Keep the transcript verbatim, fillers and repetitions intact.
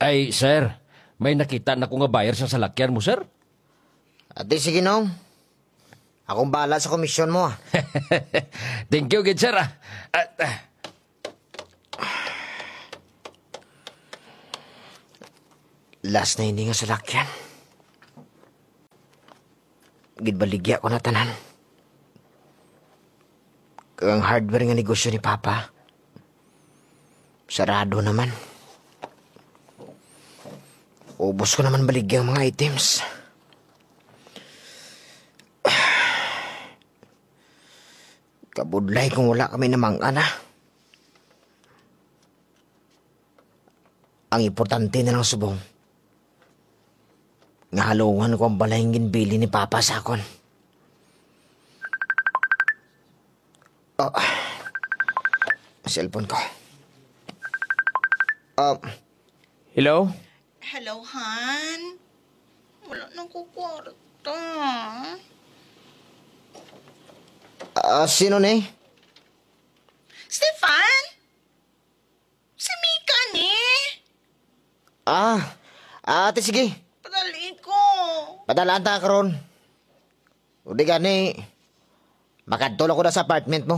Ay, sir, may nakita na ko nga buyer sa salakyan mo, sir. Ati, sige, Nong. Akong bahala sa komisyon mo, ah. Thank you, gid, sir, ah. Ah, ah. Last na ini nga salakyan. Ginbaligya ko na tanan. Kag ang hardware nga negosyo ni Papa, sarado naman. Ubos ko naman baligya ang mga items. Kabudlay kung wala kami namang-an, ah. Ang importante na lang subong nga halungan ko ang balay nga ginbili ni Papa sa akon. Oh, cellphone ko. Ah, hello? Hello, Han. Wala na ko kwarta. Ah, sino ni? Stefan? Si Mika ni? Ah, ah, ate, sige. Padali ko. Padalaan ta karon. O di gani, makadto lang ko na sa apartment mo.